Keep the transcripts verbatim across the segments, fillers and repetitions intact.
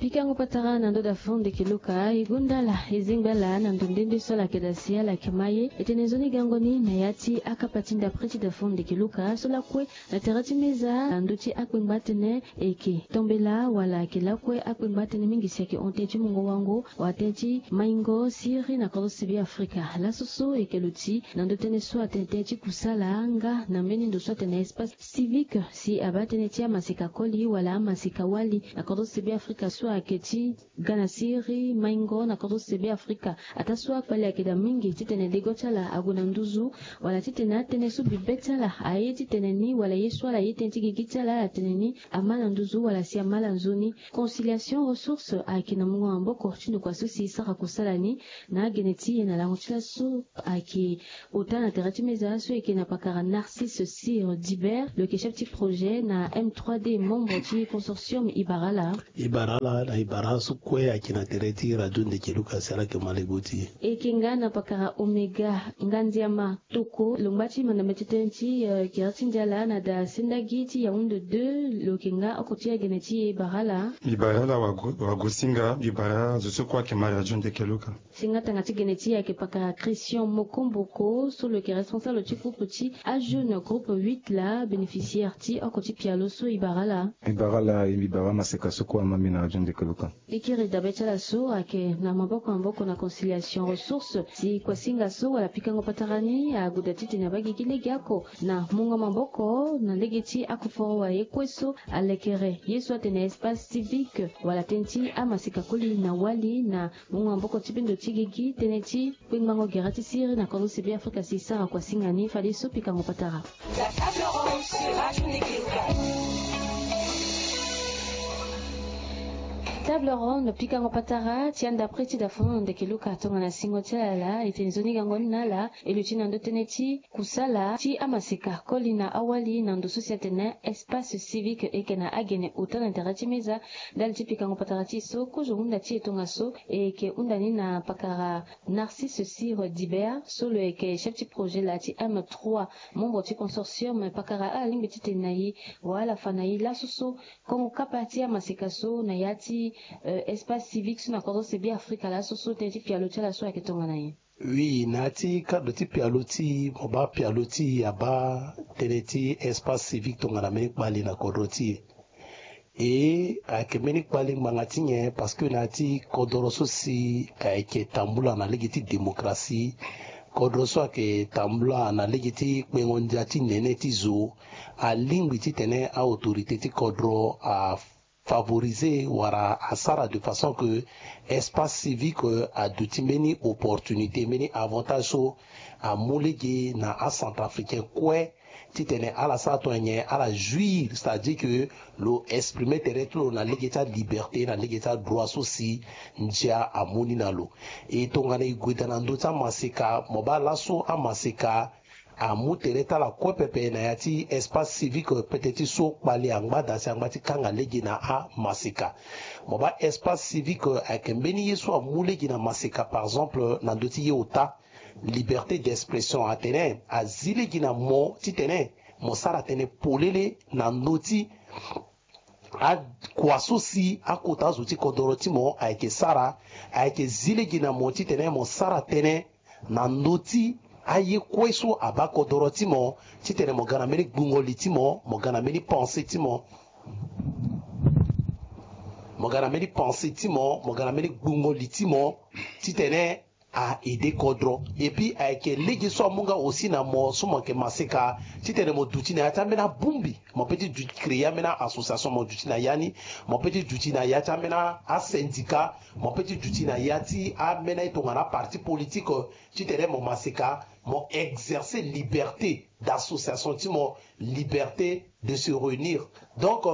Pikango patara na ndo da fon ndeke luka e gonda ala e zengba ala na ndo nde nde so ala yeke da si ala yeke ma ye. E tene nzoni gango ni na ya ti akapa ti ndapre ti da fon ndeke luka so lakue na tere ti meza na ndö ti akpengba atene e yeke tombela wala ayeke lakue akpengba atene mingi si ayeke hon tënë ti mungo wango wala tënë ti maingo siriri na kodro sebe afrika. Laso so e yeke luti na ndö tënë so atene tënë ti kusala nga na mbeni ndo so atene espace civique si abaa tënë ti amaseka koli wala amaseka wali na kodro sebe afrika so ayeke ti ga na siriri maingo na kodro sebe afrika. Ataa so akpale ayeke daa mingi titene lego ti ala ague na nduzu wala titene atënë so bibe ti ala aye titene ni wala ye so ala ye tënë ti gigi ti ala ala tene ni ama na nduzu wala si ama ala nzoni. Conciliation ressource ayeke na mungo maboko ti ndokua so si sara kusala ni na agene ti e na lango ti laso ayeke ota na tere ti meza so e yeke na pakara Narcisse Sir Dibert lo yeke chef ti projet na M trois D membre ti consortium. E bara ala. E bara ala na e bara so kue ayeke na tere ti radio ndeke luka si ala yeke ma lego ti e. E yeke nga na pakara Omega Ngandiama Toko lo ngba ti mandambe ti tënë ti kere ti ndiala na da sendagi ti Yaoundé deux lo yeke nga oko ti agene ti e. E bara ala. Mbi bara ala wago wago singa mbi bara zo so kue ayeke ma radio ndeke luka. Singa tanga ti gene ti e ayeke pakara Christian Mokomboko so lo yeke responsable ti groupe ti ajeune groupe huit la bénéficiaire ti oko ti pialo so. E bara ala. E bara ala e mbi bara amaseka so kue ama mbi na radio ndeke luka. E kiri dabe ti ala so ayeke na maboko maboko na conciliation ressource si kuasinga so wala pikango patara ni ague daa titene abaa gigi legeoko na mungo maboko na lege ti akoforo wala ye kue so alekere ye so atene espace civique wala tënë ti amaseka koli na wali na mungo maboko ti bendo ti gigi tënë ti kpengbango gere ti siriri na kodro sebe afrika si sara kuasinga ni fadeso pikango patara. Table ronde pikango patara ti andapre ti da fon ndeke luka tongana singo ti ala la e tene nzoni gango ni na ala e luti na ndö tënë ti kusala ti amaseka koli na awali na ndo so si atene espace civique e yeke na agene ota na tere ti meza. Ndali ti pikango patara ti e so kozo hunda ti e tongaso e yeke hunda ni na pakara Narcisse Sir Dibert so lo yeke chef ti projet la ti M trois membre ti consortium pakara ala lingbi titene na e wala ala fa na e laso so kongo kapa ti amaseka so na ya ti espace civique so na kodro sebe afrika laso so tënë ti pialo ti ala so ayeke tongana nyen? Oui na ya ti cadre ti pialo ti e mo baa pialo ti e abaa tënë ti espace civique tongana mbeni kpale na kodro ti e. E ayeke mbeni kpale ngbanga ti nyen parce que na ya ti kodoro so si ayeke tambula na lege ti démocratie, kodoro so ayeke tambula na lege ti kpengo ndia ti nene ti zo. Alingbi titene a-autorité ti kodoro afavorisé wala asara de façon que espace civique aduti mbeni opportunité mbeni avantage so amu lege na acentrafricain kue titene ala sara tongana nyen ala jouir c'est-à-dire que lo exprimer tere ti lo na lege ti aliberté na lege ti adroit so si ndia amu ni na lo. E tongana e gue daa na ndö ti amaseka mo baa laso amaseka amu tere ti ala kue pepe na ya ti espace civique pete ti so kpale angba daa si angba ti kanga lege na amaseka. Mo baa espace civique ayeke mbeni ye so amu lege na maseka par exemple na ndö ti ye ota liberté d'expression atene azi lege na mo titene mo sara tënë polele na ndö ti akua so si akota azo ti kodoro ti mo ayeke sara. Ayeke zi lege na mo titene mo sara tënë na ndö ti aye kue so abaa kodoro ti mo titene mo ga na mbeni gbungo li ti mo mo ga na mbeni pensé ti mo mo ga na mbeni pensé ti mo mo ga na mbeni gbungo li ti mo titene a-aider kodro. Et puis ayeke lege so amu nga aussi na mo so mo yeke maseka titene mo duti na ya ti ambeni abongbi. Mo peut ti créer ambeni association mo duti na ya ni. Mo peut ti duti na ya ti ambeni asyndicat. Mo peut ti duti na ya ti ambeni aye tongana aparti politique titene mo maseka mo exercer liberté d'association ti mo, liberté de se réunir. Donc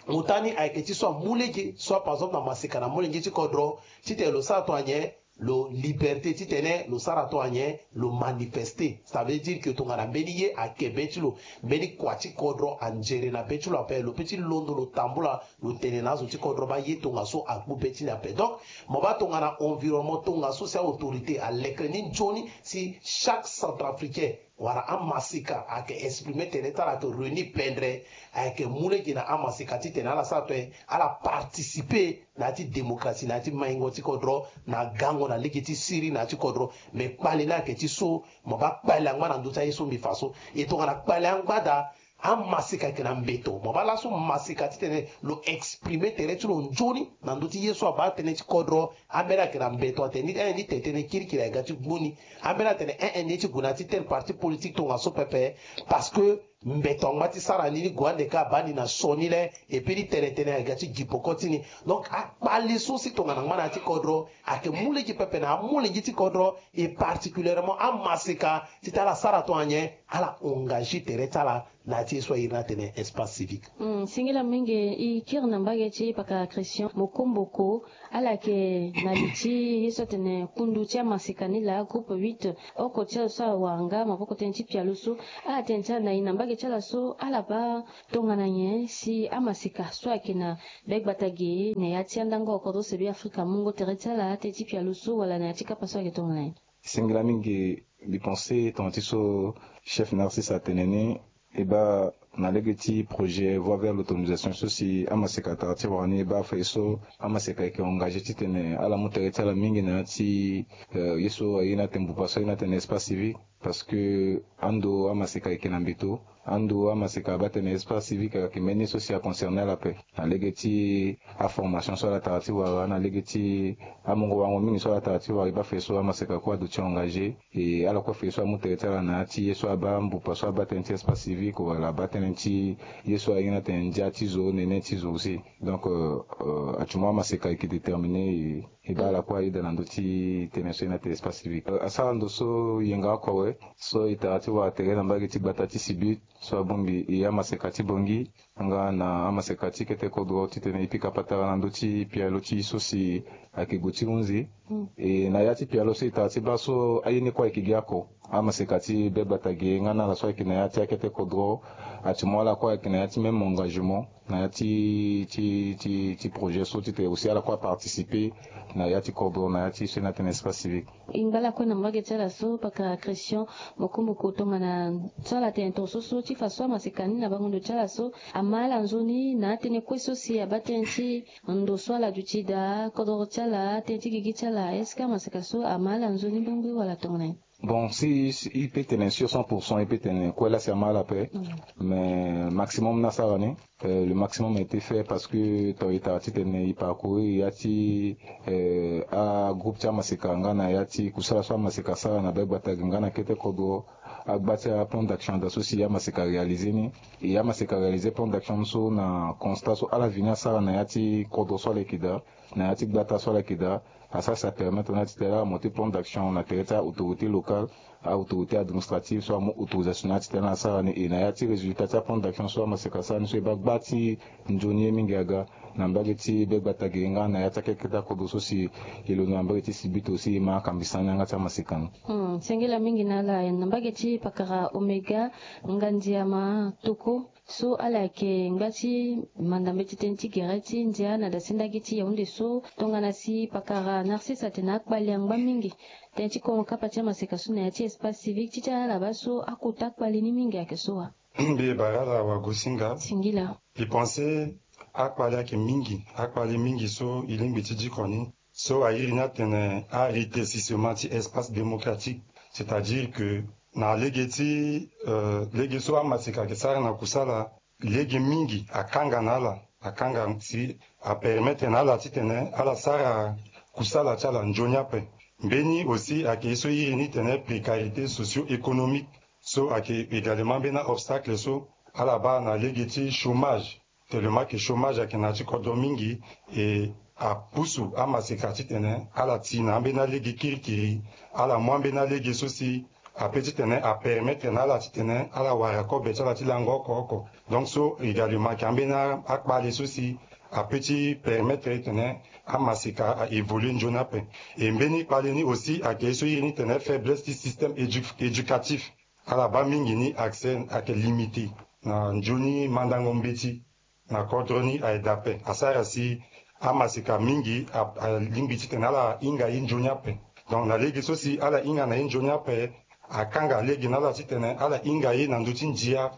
ota ni ayeke ti so amu lege soit par exemple na maseka na molenge ti kodro titene lo sara tongana nyen? Lo liberté titene lo sara tongana nyen? Lo manifester. Ça veut dire que tongana mbeni ye ayeke be ti lo, mbeni kua ti kodro anzere na be ti lo ape, lo peut ti londo lo tambula lo tene na azo ti kodro baa ye tongaso akpu be ti ni ape. Donc mo baa tongana environnement tongaso si a-autorité aleke ni nzoni si chaque centrafricain wala amaseka ayeke exprime tene ti ala ayeke réunir pendere, ayeke mu lege na amaseka titene ala sara tongana nyen? Ala participer na ya ti démocratie, na ya ti maingo ti kodro, na gango na lege ti siri na ya ti kodro. Me kpale ni ayeke ti so, mo baa kpale angba na ndö ti aye so mbi fa so. E tongana kpale angba daa, amaseka ayeke na mbeto. Mo baa laso maseka titene lo exprime tere ti lo nzoni na ndö ti ye so abaa tënë ti kodro. Ambeni ayeke na mbeto atene ni, eh, ni tene tënë kirikiri ayeke ga ti gbu ni. Ambeni atene, eh, eh, ni ye ti gue na ya ti tel parti politique tongaso pepe. Parce que mbeto angba ti sara ni, ni gue ande ka abaa ni na sioni le, et puis ni tene tënë ayeke ga ti gi peko ti ni. Donc akpale so si tongana angba na ya ti kodro ayeke mu lege pepe na amolenge ti kodro, et particulièrement amaseka, ti tene ala sara tongana nyen? Ala engagé tere ti ala na ya ti ye so a iri ni atene espace civique. Hmm, singila mingi. E kiri na mbage ti pakara Christian Mokomboko, ala yeke na li ti ye so atene kundu ti amaseka ni laa, groupe huit, oko ti ala so awara nga maboko tënë ti pialo so. Ala tene ti ala na e na mbage ti ala so ala baa tongana nyen si amaseka so ayeke na be gbata ge na ya ti andango kodro se be Afrika amungo tere ti ala tënë ti pialo so, wala na ya ti kapa so ayeke tongana nyen? Singila mingi. Mbi pense tongana ti so chef Narcisse atene ni, e baa na lege ti projet Voie vers l'autonomisation so si amaseka atara ti wara ni, e baa afa ye so amaseka ayeke engagé titene ala mu tere ti ala mingi na ya ti, euh, ye so aye ni atene mbupa so aye ni atene espace civique. Parce que ando amaseka ayeke na mbeto, ando amaseka abaa tene espace civique ayeke mbeni ye so si aconcerné ala ape. Na lege ti aformation so ala tara ti wara, na lege ti amungo warango mingi so ala tara ti wara, e baa afa ye so amaseka kue aduti engagé. E ala kue afa ye so amu tere ti ala na ya ti ye so abaa mbupa so abaa tënë ti espace civique, wala abaa tënë ti ye so aye ni atene ndia ti zo, nene ti zo aussi. Donc, euh, euh, actuellement amaseka ayeke déterminé, e, e baa ala kue ayeda na ndö ti tene so e ni atene espace civique. Euh, asara ndo so yenga oko awe, so e tara ti wara tere na mbage ti gbata ti Sibit, so abongbi e amaseka ti Bangui nga na amaseka ti kete kodro titene e pika patara na ndö ti pialo ti e so si ayeke gue ti hunzi. Mm. E na ya ti pialo so e tara ti baa so aye ni kue ayeke gi oko. Amaseka ti be gbata ge nga na ala so ayeke na ya ti akete kodro, actuellement ala kue ayeke na ya ti même engagement na ya ti, ti, ti, ti projet so titene aussi ala kue aparticiper na ya ti kodro na ya ti so e ni atene espace civique. E ngba lakue na mbage ti ala so, pakara Christian Mokomboko, tongana so ala tene tongaso so ti fa so amaseka ni na bango ndo ti ala so ama ala nzoni na atënë kue so si abaa tënë ti ndo so ala duti daa, kodro ti ala, tënë ti gigi ti ala, est-ce que amaseka so ama ala nzoni bongbi wala tongana nyen? Bon, si, si e peut tene sur cent pour cent, e peut tene kue laa si ama ala ape. Mm. Mais maximum ni asara ni, euh, le maximum a été fait parce que tongana e tara titene e parcourir ya ti, euh, agroupe ti amaseka nga na ya ti kusala so amaseka asara na be gbata ge nga na kete kodro, agba ti aplan d'action daa so si amaseka aréaliser ni. E amaseka aréaliser plan d'action so na constat so ala vini asara na ya ti kodro so ala yeke daa, na ya ti gbata so ala yeke daa. Asara si apermettre na ala titene ala monter plan d'action na tere ti a-autorité locale, a-autorité administrative so amu autorisation na ala titene ala sara ni. E na ya ti résultat ti aplan d'action so amaseka asara ni so e baa gba ti nzoni ye mingi aga na mbage ti be gbata ge nga na ya ti akeketa kodro so si e londo na mbage ti Sibit aussi e ma akambisa ni yanga ti amaseka ni. Hmm, singila mingi na ala. Na mbage ti pakara Omega, Ngandiama Toko, so ala yeke ngba ti manda mbeti tënë ti gere ti ndia na dasinda gi ti Yaoundé so, tongana si pakara Narcisse atene akpale angba mingi tënë ti kongo kapa ti amaseka so na ya ti espace civique, ti ti ala baa so akota kpale ni mingi ayeke so wa? Mbi bara ala wagosinga. Singila. Mbi pense akpale ayeke mingi, akpale mingi so e lingbi ti diko ni. So a iri ni atene arétrécissement ti espace démocratique, c'est-à-dire que na lege ti, euh, lege so amaseka ayeke sara na kusala, lege mingi akanga na ala, akanga si apermettre na ala titene ala sara kusala ti ala nzoni ape. Mbeni aussi ayeke ye so iri ni tene précarité socio-économique, so ayeke également ambeni a-obstacle so ala baa na lege ti chômage. Tellement que chômage ayeke na ya ti kodro mingi, e apusu amaseka titene ala ti na ambeni alege kirikiri, ala mu ambeni alege so si ape titene apermettre na ala titene ala wara kobe ti ala ti lango oko oko. Donc so également ayeke ambeni a-, akpale so si ape ti permettre titene amaseka a évoluer nzoni ape. E mbeni kpale ni aussi ayeke ye so iri ni tene faiblesse ti système édu-, éducatif. Ala baa mingi ni accès ayeke limité na nzoni mandango mbeti na kodro ni aye daa ape. Asara si amaseka mingi a, alingbi titene ala hinga ye nzoni ape. Donc na lege so si ala hinga na ye nzoni ape, akanga lege na ala titene ala hinga ye na ndö ti ndia.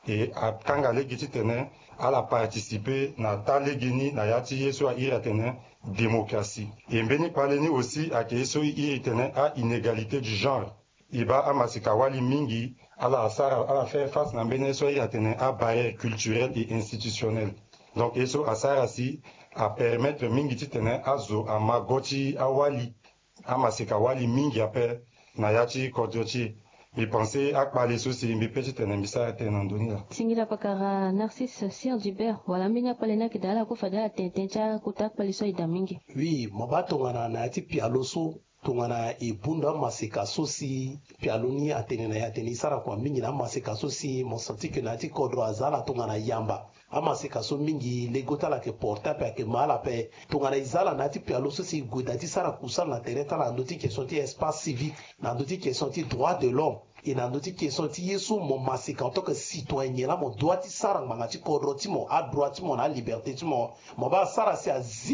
E akanga lege titene ala participer na taa lege ni na ya ti ye so a iri atene démocratie. E mbeni kpale ni aussi ayeke ye so e iri tene a inégalité du genre. E baa amaseka-wali mingi ala asara ala faire face na mbeni ye so a iri atene abarrière culturelle et institutionnelle. Donc ye so asara si apermettre mingi titene azo ama go ti awali, amaseka-wali mingi ape na ya ti kodro ti e. Mbi pense akpale so si mbi pe titene mbi sara tënë na ndö ni laa. Singila pakara Narcisse Sir Dubert, wala ambeni akpale ni ayeke daa ala kue fade ala tene tënë ti akota akpale so aye daa mingi. Oui, mo baa tongana na ya ti pialo so, tongana e bunda amaseka so si pialo ni atene na e atene e sara kua mingi na amaseka so si mo senti ke na ya ti kodro aza ala tongana yamba. Amaseka so mingi lego ti ala ayeke porte ape ayeke ma ala ape. Tongana e za ala na ya ti pialo so si e gue daa ti sara kusala na tere ti ala na ndö ti question ti espace civique, na ndö ti question ti droit de l'homme, e na ndö ti question ti ye so mo maseka en tant que citoyen nyen laa mo doit ti sara ngbanga ti kodro ti mo, adroit ti mo na aliberté ti mo. Mo baa asara si azi